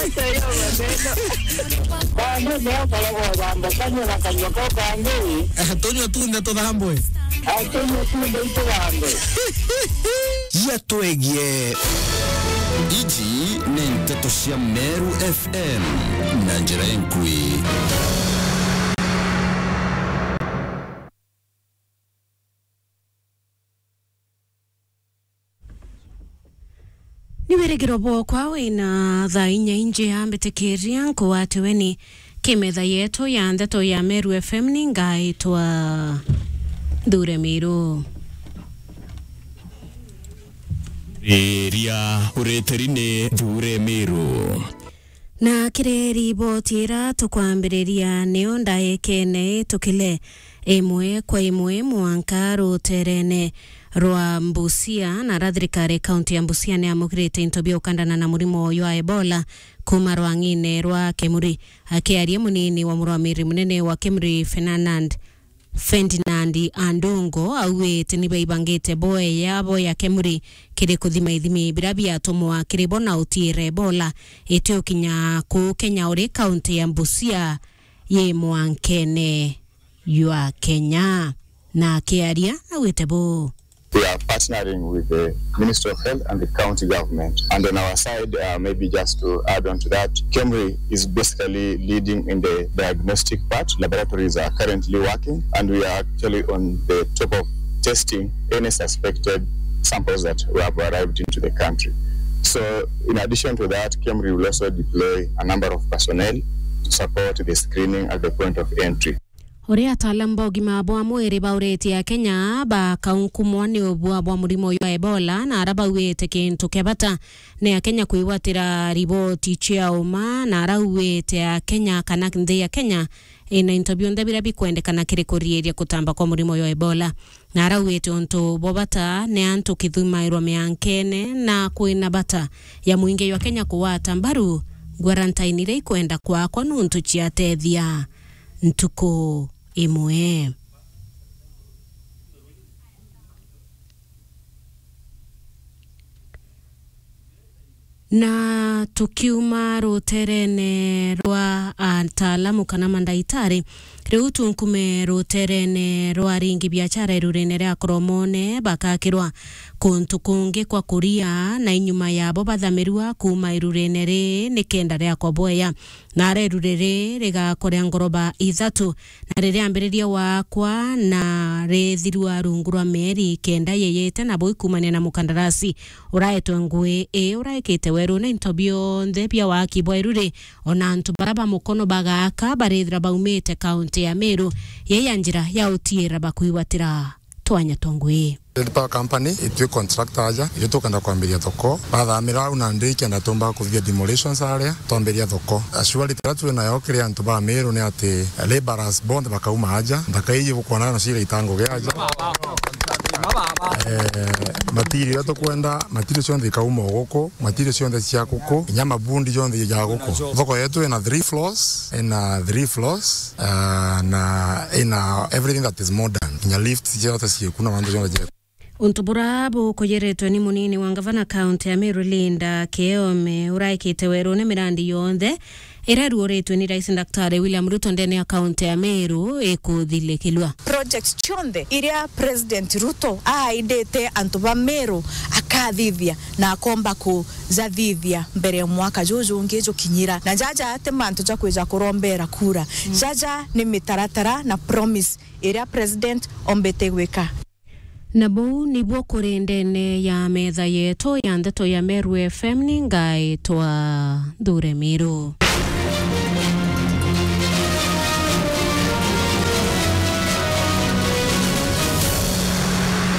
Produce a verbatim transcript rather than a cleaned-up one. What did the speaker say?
Acha hiyo maneno. Kwanza ndio korogo jambo, kanywa na kanywa kwa kwanza. Eh, tunywe tunde tuthambwe. Atunywe tunde ituthambwe. Cia twegie. Iji ni nteto cia Meru F M na njira enkui. Ni wirigiro bwokwa wina thaa inya inji ya mbitikiria nkuwatiwe ni kimetha yetu ya ndeto ya Meru F M ni ngaitwa Nthure Miru. Iria uritiri ni Nthure Miru. Na kiri riboti ira tukwambiriria niyo ndaekene itukile imwe kwa imwe mwanka ruterene rwa Busia, na ara thirikari kaunti ya Busia ni yamukirite into bia ukandana na murimo uyu wa Ebola kuma rwang'ine rwa Kemuri. Akiaria munini wa murwamiri munene wa Kemuri, Fernand Ferdinand Andungo auite ni baibangite boeya bo ya Kemuri kiri kuthima ithimi bira biatumwa kiri bo na utiira Ebola iti ukinya kuu Kenya uri kaunti ya Busia yi mwankene jwa Kenya. Na akiaria auite buu. We are partnering with the Ministry of Health and the county government. And on our side, uh, maybe just to add on to that, Kemri is basically leading in the diagnostic part. Laboratories are currently working, and we are actually on the top of testing any suspected samples that have arrived into the country. So, in addition to that, Kemri will also deploy a number of personnel to support the screening at the point of entry. Uria ataalamu ba ugima bwa mwiri bauritie Akenya bakaunkumwa ni ubua bwa murimo uyu wa Ebola, na ara bauite kintu kia bata ni Akenya kwigwatira riboti cia uma, na ara auite Akenya kana nthi ya Kenya ina into bionthe biria bikwendekana kiri kuriiria kutamba kwa murimo uyu wa Ebola. Na ara auite untu bwa bata ni antu kithumairwa miankene, na kwina bata ya mwingi jwa Kenya kugwata mbaru quarantine iria ikwenda kwakwa nuntu ciatethia ntuku imwe. Na tukiuma ruterene rwa ataalamu kana mandaitari, riu tunkume ruterene rwa aringi biachara irurene ria Koromone bakakirwa kuntu kungi kwa kuria, na inyuma yabo bathamirua kuuma irurene ri ni kenda riakwa bweya. Na ara iru riri rigakwa ria ngoroba ithatu, na ririambiriria wakwa, na rithirua rungu rwa mieri kenda yeyete, nabo ikumania na mukandarasi uraetwe ngui ii uraikite werune into bionthe bia waki bwa iru ri, ona antu bara ba mukono bagaka barithira baumite kaunti ya Meru, yei ya njira ya utiira bakwigwatira twanya twa ngui. Red Power Company itwi contractor aja, itwi tukenda kwambiria thoko. Bathamira au nandi ikenda tumba kuthithia demolitions aria, twambiria thoko. Assurity iria twi nayo kiri antu ba Meru ni ati labourers bonthe bakauma aja, nthaka iji bukwona nacio iraita ngugi aja. Eh, material iria tukwenda, material cionthe ikauma o guku, material cionthe cia guku, inya mabundi jonthe ja guku. Thoko yetu ina three floors, ina three floors, ah, na ina everything that is modern. Inya lifts ciothe ciiku na mantu jonthe jeku. Untu bura bukuyiritwe ni munini wa ngavana kaunti ya Meru Linda Kiome uraikite werune mirandi yonthe iria iruuritwe ni Rais Daktari William Ruto ndene ya kaunti ya Meru ikuthilikilua. Projects cionthe iria President Ruto aaidite antu ba Meru akathithia na akomba kujathithia mbere ya mwaka juju jungi jukinyira. Na jaja ti mantu ja kwija kurombera kura. Mm. Jaja ni mitaratara na promise iria President ombite gwika. Na buu nibuo kuri ndene ya metha yetu ya ndeto ya Meru F M, ni ngaitwa Nthure Miru.